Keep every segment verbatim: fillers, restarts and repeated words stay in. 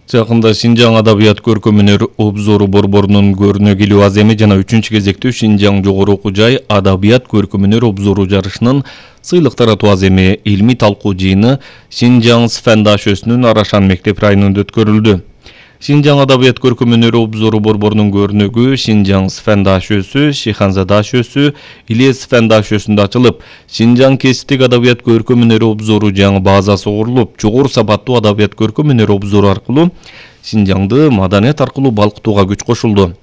Жакында Шинжаң адабият көркөмүнөр обзору борборунун көрүнө келүү аземи жана үчүнчү кезектүү Шинжаң жогору окуу жай адабият көркөмүнөр обзору жарышынын сыйлык таратуу аземи илмий талкуу жыйыны Шинжаң Сфен дашөсүнүн Арашан мектеп районунда өткөрүлдү. Шинжаң адабият көркөмүнөр обзору борборунун көрүнөгү Шинжаң Сфен дашөсү, Шиханза дашөсү, Илес Сфен дашөсүндө ачылып, Шинжаң кесиптик адабият көркөмүнөр обзору жаңы базасы курулуп, жогору сапаттуу адабият көркөмүнөр обзору аркылуу Шинжаңды маданият аркылуу балкытууга күч кошулду.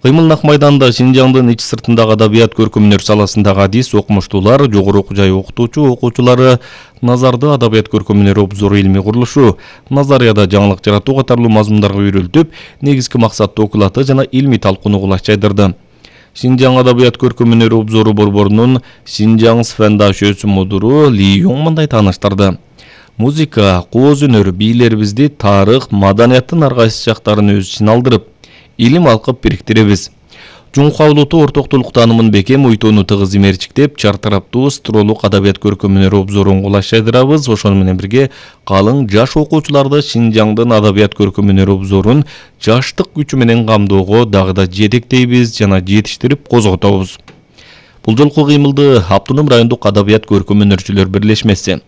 Кыймыл Нак майданында Шинжаңдын ич сыртындагы адабият көркөмүнөр саласындагы адис окумуштуулар, жогору окуу жай окутуучу окуучулары назарды адабият көркөмүнөр обзору илмий курулушу, назарияда жаңылык жаратуу катарлуу мазмундарга үйрөлтүп, негизги максатты окулаты жана илмий талкууну кулач жайдырды. Шинжаң адабият көркөмүнөр обзору борборунун Шинжаң Сфен дашөсү мудуру Ли Йоң мындай тааныштырды. Музыка, кооз өнөр бийлерибизди тарых, маданияттын ар кайсы жактарын өз ичине алдырып, илим алкып бириктиребиз. Жумка улуту ортоктулук таанымын бекем, уйтууну тыгыз имерчиктеп, чартараптуу стролук адабият көркөмүнөр обзорун кулаш жайдырабыз. Ошону менен бирге калың жаш окуучуларды Шинжаңдын адабият көркөмүнөр обзорун жаштык күчү менен камдоого дагы да жетектейбиз жана жетиштирип козготобуз. Бул жолку кыймылды Автоном райондук адабият көркөмүнөрчүлөр бирлешмеси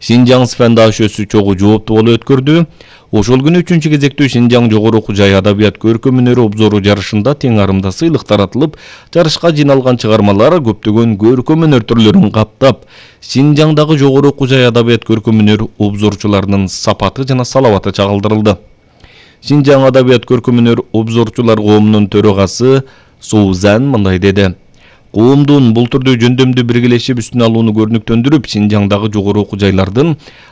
Шинжаң Сфен дашөсү чогуу жооптуу болуп өткөрдү. Ошол күнү үчүнчү кезектүү Шинжаң жогору окуу жай адабият көркөмүнөр обзору жарышында тең арымда сыйлык таратылып, жарышка жыйналган чыгармалар көптөгөн көркөмүнөр түрлөрүн каптап, Шинжаңдагы жогору окуу жай адабият көркөмүнөр обзорчуларынын сапаты жана салабаты чагылдырылды. Шинжаң адабият көркөмүнөр обзорчулар коомунун төрагасы Соузан мындай деди. Коомдун бул түрдө жөндөмдүү биргелешип үстүн алууну көрүнүктөндүрүп, Шинжаңдагы жогору окуу жайлардын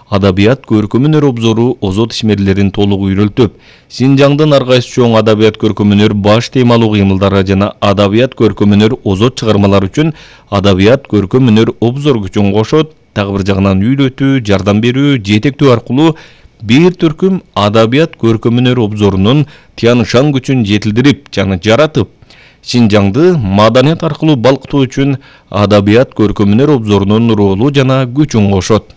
адабият көркөмүнөр обзору озот ишмерлерин толук үйрөлтүп, Шинжаңдын ар кайсы чоң адабият көркөмүнөр баш темалуу кыймылдары жана адабият көркөмүнөр озот чыгармалар үчүн адабият көркөмүнөр обзор күчүн кошот, дагы бир жагынан үйрөтүү, жардам берүү, жетектөө аркылуу бир түркүм адабият көркөмүнөр обзорунун тянышан күчүн жетилдирип жана жаратып, Шинжаңды маданият аркылуу балкытуу үчүн адабият көркөмүнөр обзорунун ролу жана күчүн кошот.